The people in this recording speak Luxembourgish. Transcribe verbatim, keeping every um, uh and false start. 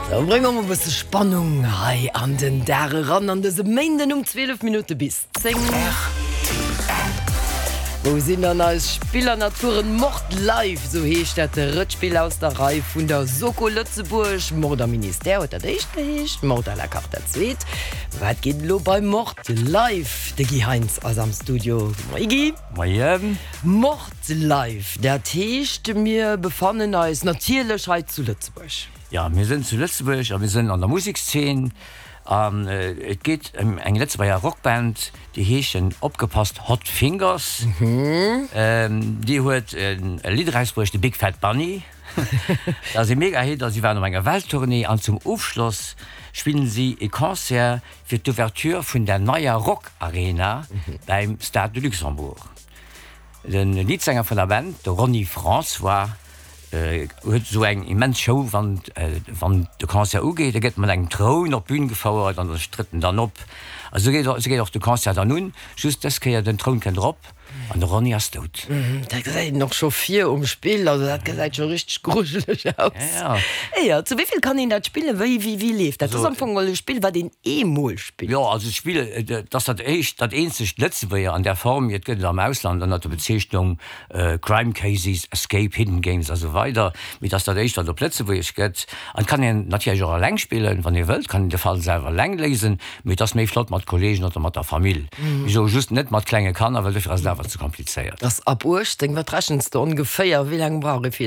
Sou, brénge mer e bësse Spannung hei an den Dag eran an dëse Méinden um zwielef Minutte bis zéng. Wou sinn dann eis Spillernaturen? Mord Live, sou heescht dat Rëttspill aus der Rei vun der Soko Lëtzebuerg. Mord am Ministère huet dat éischt geheescht, Mord à la carte dat zweet. Wat geet elo bei Mord Live? De Guy Heintz ass am Studio. Moie Guy. Moien. Mord Live, dat heescht mir befannen eis natierlech hei zu Lëtzebuerg. Ja, mir sinn zu Lëtzebuerg a mir sinn an der Musekszeen an et geet ëm eng Lëtzebuerger Rockband, déi heeschen, opgepasst, Hot Fingers. Déi huet e Lidd erausbruecht, de Big Fat Bunny. Dat ass e Mega-Hit a si waren op enger Welttournée an zum Ofschloss spillen si e Concert fir d'Ouverture vun der neier Rock-Arena beim Stade de Luxembourg. De Leadsänger vun der Band, de Ronny François, huet esou eng immens Show, wann wann de Concert ugeet. E gëtt mat engem Troun op d'Bün gefouert an da trëtt en dann op. A sou geet sou geet och de Concert dann un, just dës Kéier, den Troun kënnt erop an de Ronny ass dout. Dat gesäit een och scho vir um Spill, also dat gesäit scho richteg grujeleg aus. Ja, ja. Jo, zu wéi vill kann een dat spillen? Wéi wéi wéi leeft dat? Dat ass am Fong geholl e Spill, wat een eemol spillt. Jo, also d'Spill, et ass dat éischt, dat eenzegt Lëtzebuerger an där Form. Et gëtt et am Ausland ënnert der Bezeechnung Crime Cases, Escape, Hidden Games a sou weider, mee et ass dat éischt, wat op Lëtzebuergesch gëtt. An et kann een natierlech och eleng spillen, wann ee wëllt, kann een de Fall selwer eleng léisen, mee et ass méi flott mat Kolleegen oder mat der Famill. Ech soe just net mat klenge Kanner, well dofir ass et awer ze komplizéiert. Ass ab uechtzéng. Wat rechens de ongeféier, wéi laang brauch ee fir